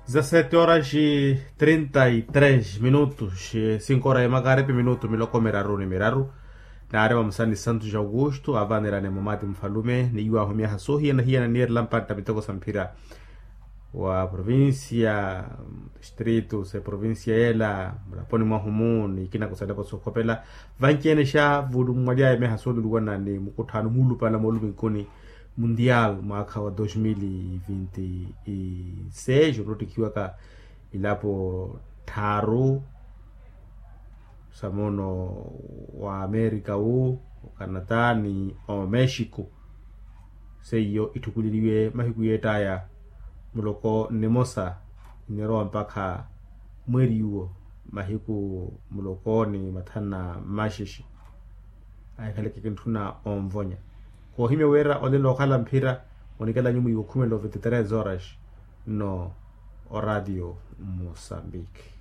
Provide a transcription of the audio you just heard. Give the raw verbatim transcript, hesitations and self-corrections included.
Dezasete horas e trinta e três minutos, cinco horas e makaripi minutu miloko miraru ni miraru. Naari vamusani santos augusto avanirane mumati mufalume ni iwahu myaha sohiyana hiyana niirela mpantta miteko sa mphira wa provincia, distrito se provincia yela mulaponi mwahumu ni ikina kusalepo sokhopela. Vanci-ene xa vulummwaly'aya myaha sooluliwana ni mukutthano muulupala mooluminkuni mundial mwaakha wa dos mil e vinte e seis onottikhiwaka ilapo tthaaru sa moono wa amerika wu, okanata ni omexico. Seiyo itthukuleliwe mahiku yeett'aya muloko nimosa, nnirowa mpakha mweeri uwo mahiku muloko ni mathanu na mmaxexe. Ahikhaleke kintthuna onvonya koohimya wira olenle okhala mphira. Onikelanyu mwiiwa okhumela ovete tres horas nno oradio mosambiki.